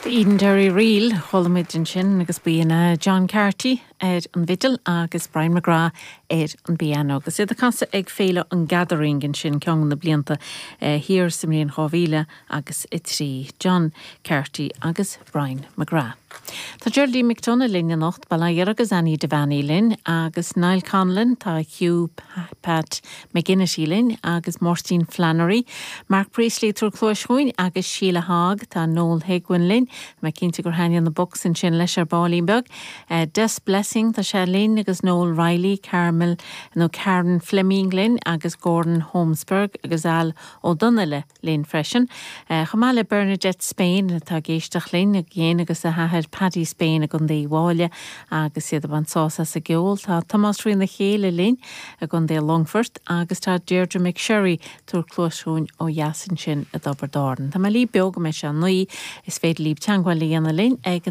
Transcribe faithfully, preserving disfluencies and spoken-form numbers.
Edenderry Reel chuala muid ansin agus b'in John Carty ar an bhfidil agus Brian McGrath ar an bpianó. Agus iad ag casadh ag féile an Gathering ansin ceann na blianta thiar sa mbliain dhá mhíle agus a trí John Carty agus Brian McGrath. Tá Geraldine McDonagh linn anocht Baile agus Annie Devaney linn agus Niall Conlon tá Hugh Pat McGinnity linn agus Máirtín Flannery, Mark Priestley ag tabhairt cluas dúinn agus Sheila Hogg tá Noel Higwin linn, me cinnte gur thaithin na books ansin leis ar baillín beag. Uh, Des Blessing tá sé linn agus Noel Riley, Carmel nó Karen Fleming linn agus Gordon Holmesberg agus Al O'Donnell linn freisin. Uh, Chomh maith le Bernadette Spain atá ag éisteacht linn ag dhéin agus a hathair Paddy Spain a gcontae bháile agus iad an sás as a gceol tá Tomás Rína chéile linn a gcontae Longfort agus tá Deirdre McSherry ag tabhairt cluas dúinn ó dheas ansin i dTiobraid Árann. Tá mé libh beo go mbeidh sé naoi is féidir libh teagmháil a dhéanamh linn ag